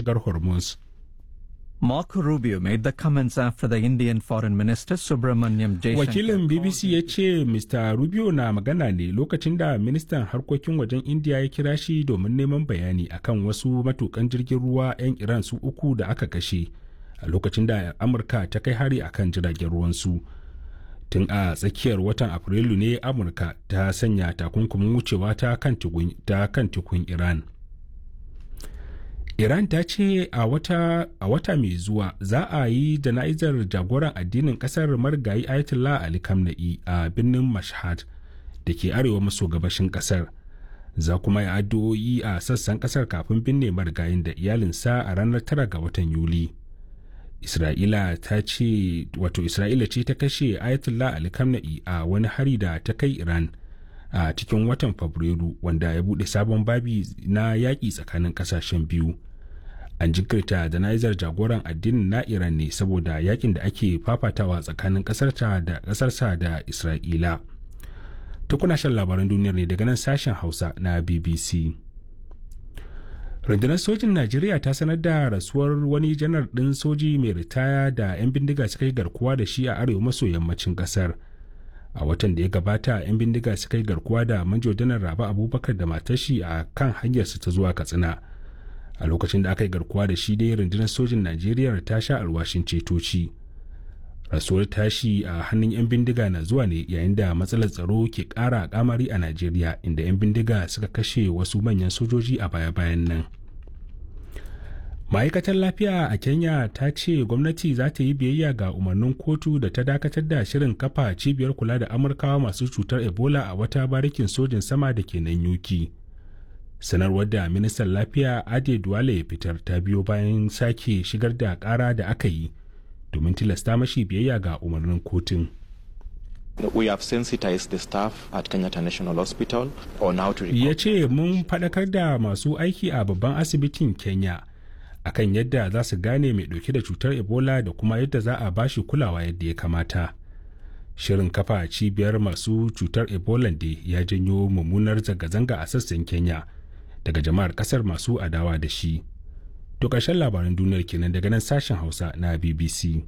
mashigar Hormuz. Marco Rubio made the comments after the Indian Foreign Minister Subramanyam Jaishankar. Wakilin BBC ya ce Mr. Rubio na magana ne lokacin da ministan harkokin wajen India ya kira shi domin neman bayani akan wasu matukan jirgin ruwa 'yan Iran su uku da aka kashe a lokacin da Amurka ta kai hari akan jiragen ruwansu. Tun a tsakiyar watan Afrilu ne Amurka ta sanya takunkumin wucewa ta kan tekun Iran. Iran ta ce a wata mai zuwa za a yi jana'izar jagoran addinin kasar marigayi Ayatollah Ali Khamenei a birnin Mashhad da ke arewa maso gabashin kasar. Za kuma yi addu'o'i a sassan kasar kafin binne marigayin da iyalinsa a ranar 9 ga watan Yuli. Isra'ila ta ce wato Isra'ila ce ta kashe Ayatollah Ali Khamenei a wani hari da ta kai Iran. A cikin watan Fabrairu wanda ya bude sabon babi na yaƙi tsakanin ƙasashen biyu. An jinkirta jana'izar jagoran addinin na Iran ne saboda yakin da ake fafatawa tsakanin ƙasarta da ƙasarsa da Isra'ila. Tukuna shan labaran duniyar ne daga nan sashen Hausa na BBC. Rundunar sojin Najeriya ta sanar da rasuwar wani janar ɗin soji mai ritaya da 'yan bindiga suka yi garkuwa da shi a arewa maso yammacin ƙasar. A watan da ya gabata 'yan bindiga suka yi garkuwa da manjo janar Rabe Abubakar da matashi a kan hanyarsa ta zuwa Katsina. A lokacin da aka yi garkuwa da shi dai, rundunar sojin Najeriya ta sha alwashin cetoci. Rasuwar tashi a hannun 'yan bindiga na zuwa ne yayin da matsalar tsaro ke kara kamari a Najeriya, inda 'yan bindiga suka kashe wasu manyan sojoji a baya-bayan nan. Ma'aikatar lafiya a Kenya ta ce gwamnati za ta yi biyayya ga umarnin kotu da ta dakatar da shirin kafa cibiyar kula da Amurkawa masu cutar Ebola a wata barikin sojin sama da ke nan Yuki. Sanarwar da ministan lafiya Ade Duwale ya fitar ta biyo bayan sake shigar da kara da aka yi domin tilasta mashi biyayya ga umarnin kotun. We have sensitized the staff at Kenyatta National Hospital on how to Ya ce mun faɗakar da masu aiki a babban asibitin Kenya akan yadda za su gane mai dauke da cutar Ebola da kuma yadda za a bashi kulawa yadda ya kamata. Shirin kafa cibiyar masu cutar Ebola da ya janyo mummunar zanga-zanga a sassan Kenya daga jama'ar kasar masu adawa da shi. To ƙarshen labaran duniyar kenan daga nan sashen Hausa na BBC.